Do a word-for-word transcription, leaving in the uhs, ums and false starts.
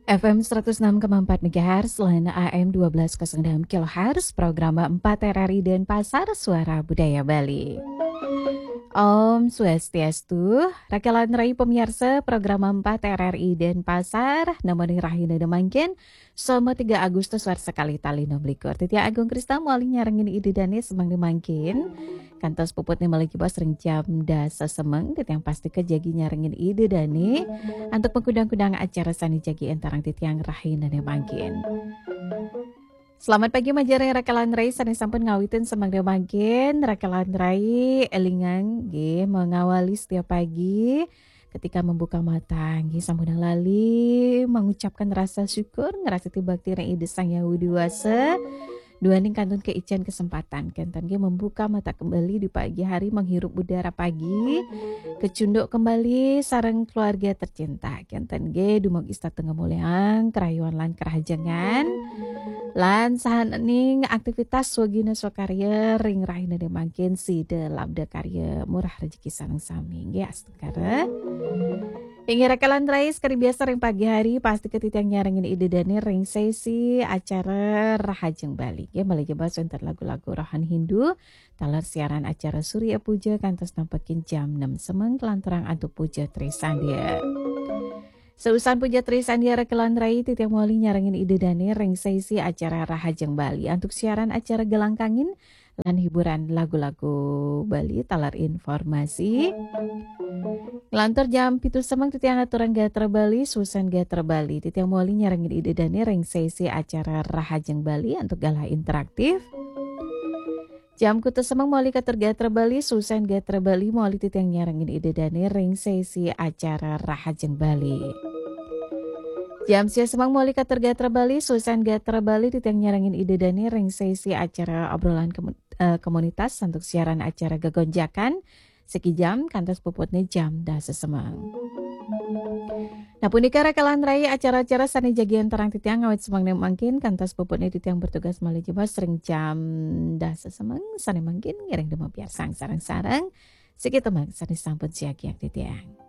F M seratus enam koma empat megahertz, lan A M dua belas kosong enam kilohertz, program empat R R I Denpasar, Suara Budaya Bali. Om Swastiastu, rakelan rai pemirsa program empat R R I Denpasar, namani rahina da mangkin, Selasa tiga Agustus warsa kalih tali enam likur. Titiang Agung Krisna malih nyarengin Ida Dane semeng da mangkin. Kantos puputne malih jebos ring jam dasa semeng, titiang pastika jagi nyarengin Ida Dane antuk makudang-kudang acara sane jagi antarang titiang rahinane mangkin. Selamat pagi, majeng ring rakelan rai sane sampun ngawitin semeng da mangkin. Rakelan rai, elingang nggih mengawali setiap pagi ketika membuka mata, nggih sampunang lali mengucapkan rasa syukur, ngrastiti bakti ring Ida Sang Hyang Widhi Wasa. Duaning kantun kaican kesempatan kenten nggih membuka mata kembali di pagi hari, menghirup udara pagi, kecunduk kembali sareng keluarga tercinta kenten nggih, dumugi setata ngamuliang karayuan lan karahajengan. Lan sahaning aktivitas swagina swakarya ring rahinane mangkin, sida labda karya murah rejeki sareng sami nggih, astungkara. Inggih rakelan rai, sekadi biasa ring pagi hari, pastika titiang nyarengin Ida Dane ring sesi acara Rahajeng Bali. Nggih, malih jebos wenten lagu-lagu rohani Hindu, taler siaran acara Surya Puja kantos nampekin jam enam semeng kalanturang antuk Puja Trisandya. Sausan Puja Trisandya rakelan rai, titiang malih nyarengin Ida Dane ring sesi acara Rahajeng Bali antuk siaran acara Gelang Kangin lan hiburan lagu-lagu Bali taler informasi. Nglantur jam pitu semeng titiang aturang gatra Bali, sausan gatra Bali. Titiang malih nyarengin Ida Dane ring sesi acara Rahajeng Bali antuk galah interaktif. Jam kutus semeng malih katur gatra Bali, sausan gatra Bali malih titiang nyarengin Ida Dane ring sesi acara Rahajeng Bali. Jam sia semeng malih katur gatra Bali, sausan gatra Bali titiang nyarengin Ida Dane ring sesi acara obrolan kemu-, eh, komunitas antuk siaran acara Gegonjakan, siki jam kantos puputne jam dasa semeng. Nah, punika rakelan rai acara-acara sane jagi antarang titiang ngawit semeng ne mangkin kantos puputne titiang bertugas malih jebos ring jam dasa semeng sane mangkin, ngiring dumapiarsang sareng-sareng siki tembang sane sampun siagiang titiang.